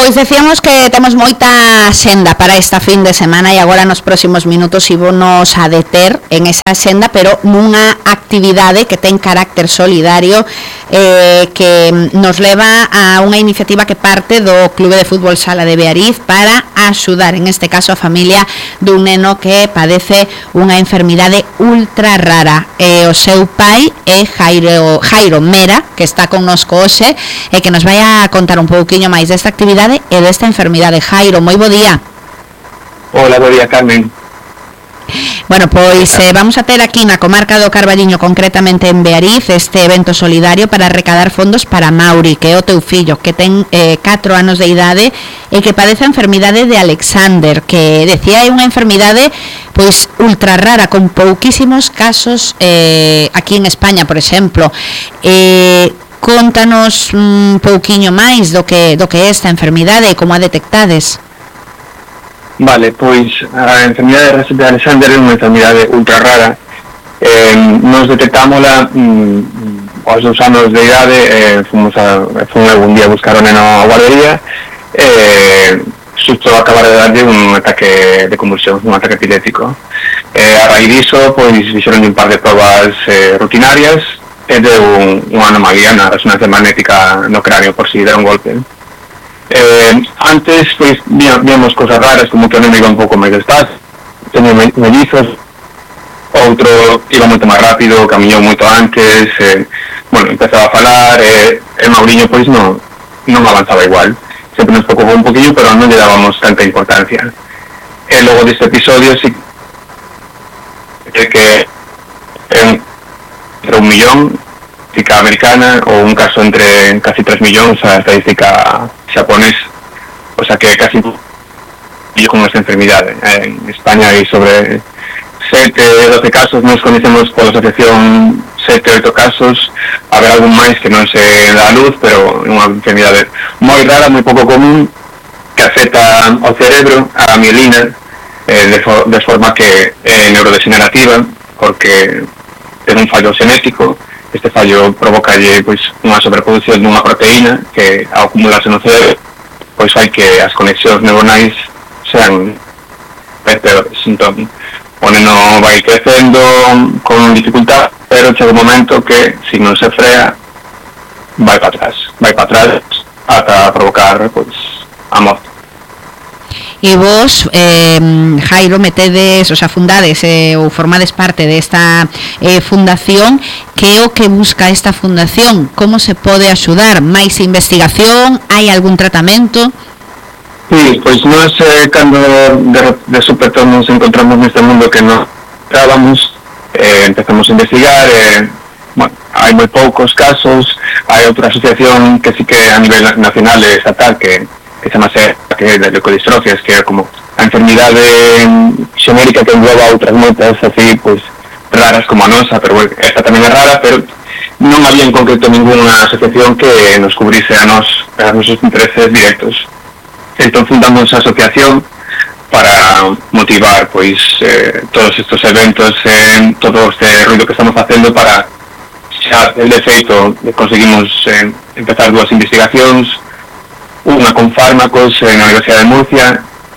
Pois decíamos que temos moita xenda para esta fin de semana e agora nos próximos minutos ímonos a deter en esa xenda, pero nunha actividade que ten carácter solidario que nos leva a unha iniciativa que parte do Clube de Fútbol Sala de Beariz para axudar, en este caso, a familia dun neno que padece unha enfermidade ultra rara. O seu pai é Jairo Mera, que está connosco hoxe e que nos vai a contar un pouquiño máis desta actividade e desta enfermidade. Jairo, moi bo día. Hola, bo día, Carmen. Bueno, pois vamos a ter aquí na comarca do Carballiño, concretamente en Beariz, este evento solidario para recadar fondos para Mauri, que é o teu fillo, que ten 4 anos de idade e que padece a enfermidade de Alexander, que decía é unha enfermidade pois ultra rara, con pouquísimos casos aquí en España, por exemplo. Contanos un pouquiño máis do que é esta enfermidade e como a detectades. Vale, pois a enfermidade de Alexander é unha enfermidade ultra rara. Nos detectámola aos 2 anos de idade. Fomos algún día a buscar o neno a guardería xusto acabar de darlle un ataque de convulsión, un ataque epiléptico. A raíz diso, pois fixeron un par de probas rutinarias e deu unha anomalía na resonancia magnética no cráneo por si dera un golpe. Antes, pois, víamos cosas raras, como que o neno iba un pouco máis despacio, teño mellizos, outro iba moito máis rápido, camiñou moito antes, empezaba a falar, e Mauriño, pois, non avanzaba igual. Sempre nos preocupou un poquillo, pero non lle dábamos tanta importancia. E logo deste episodio, sí que entre 1 millón, estadística americana, ou un caso entre casi 3 millóns a estadística xaponés, o sea que casi con esta enfermidade. En España hai sobre 7-12 casos, nos conocemos pola asociación 7-8 casos, haber algún máis que non se dá a luz, pero é unha enfermidade moi rara, moi pouco común, que afecta ao cerebro, a mielina, de forma que é neurodegenerativa, porque ten un fallo xenético. Este fallo provocalle pois unha sobreproducción dunha proteína que ao acumularse no cerebro pois fai que as conexións neuronais sean peores. Entón, o neno vai crecendo con dificultad, pero chega un momento que, se non se frea, vai para atrás ata provocar pois a morte. E vos, Jairo, metedes, o sea, fundades ou formades parte desta fundación. Que é o que busca esta fundación? Como se pode axudar? Máis investigación? Hai algún tratamento? Sí, pois nós cando de súpeto nos encontramos neste mundo que non estábamos, empezamos a investigar, hai moi poucos casos. Hai outra asociación que sí que a nivel nacional e estatal que chamase que de leucodistrofias, que é como a enfermidade xenérica que engloba outras moitas así, pois, raras como a nosa, pero esta tamén é rara, pero non había en concreto ninguna asociación que nos cubrise a nosos intereses directos. Entón fundamos a asociación para motivar pois todos estes eventos, todo este ruido que estamos facendo para xa el defeito conseguimos empezar 2 investigacións, unha con fármacos na Universidade de Murcia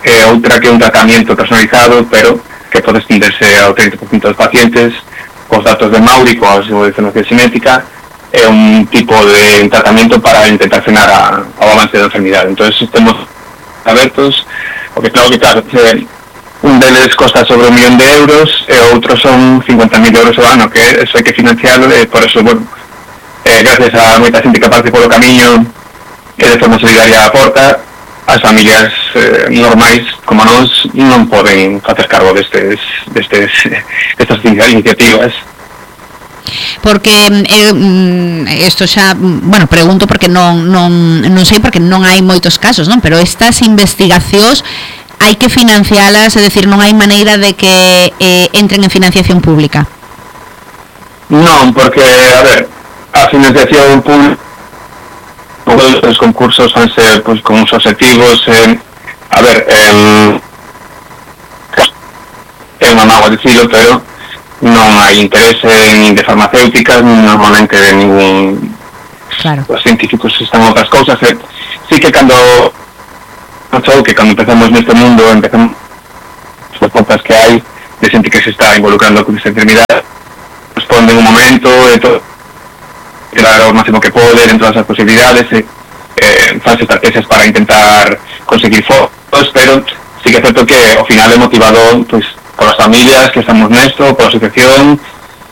e outra que é un tratamento personalizado, pero que pode extenderse ao 30% dos pacientes, cos datos de Mauri, coa súa información xenética, é un tipo de tratamento para intentar frenar o avance da enfermidade. Entón, estamos abertos, porque claro, un deles costa sobre 1 millón de euros e outros son 50.000 euros ao ano, que eso hai que financiarlo, e por eso, gracias a moita xente que parte polo camiño que de forma solidaria aporta, as familias normais como nós non poden facer cargo destas iniciativas. Porque isto xa, pregunto porque non sei, porque non hai moitos casos, non? Pero estas investigacións hai que financialas, é dicir, non hai maneira de que entren en financiación pública. Non, porque, a ver, a financiación pública, os concursos van ser pues, con uns objetivos, a ver, é unha mágoa dicilo, pero non hai interese nin de farmacéuticas, nin normalmente de ningún... Claro. Os científicos están outras cousas. Sí que cando pasou que cando empezamos neste mundo, empezamos as portas que hai de xente que se está involucrando con esta enfermidade, responden un momento e todo, tirar o máximo que pode en todas as posibilidades, faz estrategias para intentar conseguir fondos, pero sí que é certo que ao final é motivado pois, por as familias que estamos nesto, por a asociación,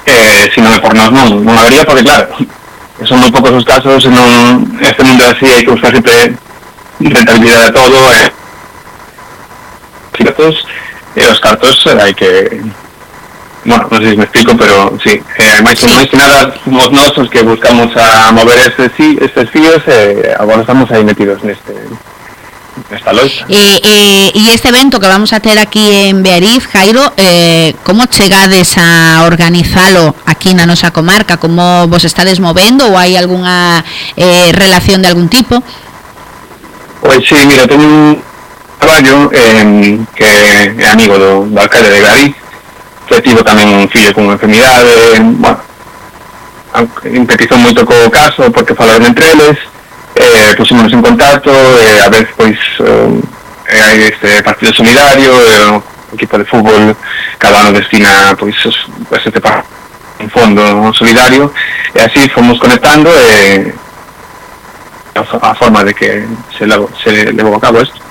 se non é por nós non habería, porque claro, son moi poucos os casos, este mundo así hai que buscar sempre rentabilidade a todo, os cartos hai que, bueno, non sei se me explico, pero sí, máis que nada somos nós os que buscamos a mover estes fíos, agora estamos aí metidos nesta loita. E este evento que vamos a ter aquí en Beariz, Jairo, como chegades a organizalo aquí na nosa comarca? Como vos estades movendo ou hai algunha relación de algún tipo? Pois sí, mira, teño un traballo que é amigo do alcalde de Beariz, que tivo tamén un fillo con unha enfermidade, bueno, empetizou moito co caso porque falaron entre eles, pusimos en contacto, a ver, pois, hai este partido solidario, o equipo de fútbol cada ano destina, pois, un fondo solidario, e así fomos conectando, a forma de que se levou a cabo isto.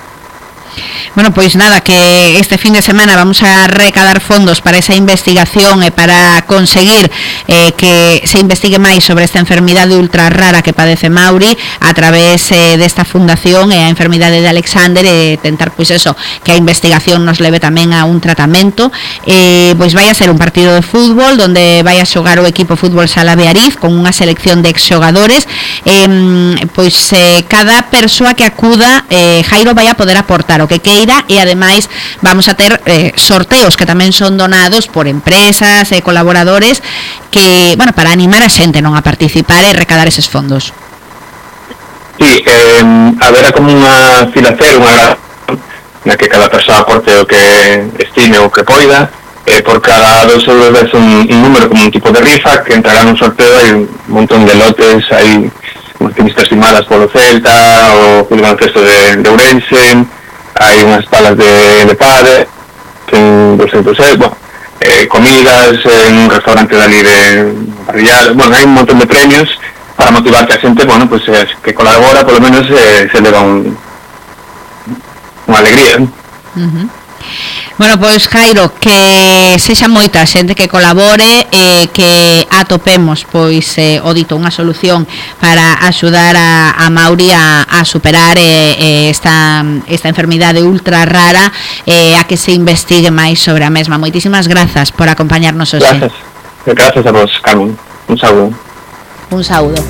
Bueno, pois nada, que este fin de semana vamos a recadar fondos para esa investigación e para conseguir que se investigue máis sobre esta enfermidade ultra rara que padece Mauri a través desta fundación e a enfermidade de Alexander, e tentar pois eso, que a investigación nos leve tamén a un tratamento. Pois vai a ser un partido de fútbol donde vai a xogar o equipo Fútbol Sala Beariz con unha selección de exxogadores, pois cada persoa que acuda, Jairo, vai a poder aportar o que queira, e ademais vamos a ter sorteos que tamén son donados por empresas e colaboradores que, bueno, para animar a xente non a participar e recadar eses fondos. Sí, haberá como unha filacer, unha na que cada persoa aporte o que estime ou que poida, por cada 2 euros ves un número como un tipo de rifa que entrará nun sorteo. Hai un montón de lotes, hai unhas tenistas firmadas polo Celta, o Club Baloncesto de Ourense, hai unhas palas de pádel, en 200 euros, bueno, comidas en un restaurante dali de parrillal, bueno, hai un montón de premios para motivar que a xente, bueno, pues que colabora, polo menos se leva unha alegría. Bueno, pois Jairo, que sexa moita xente que colabore e que atopemos pois o dito unha solución para axudar a Mauri a superar esta enfermidade ultra rara, a que se investigue máis sobre a mesma. Moitísimas grazas por acompañarnos hoxe. Gracias a vos, Carmen. Un saúdo. Un saúdo.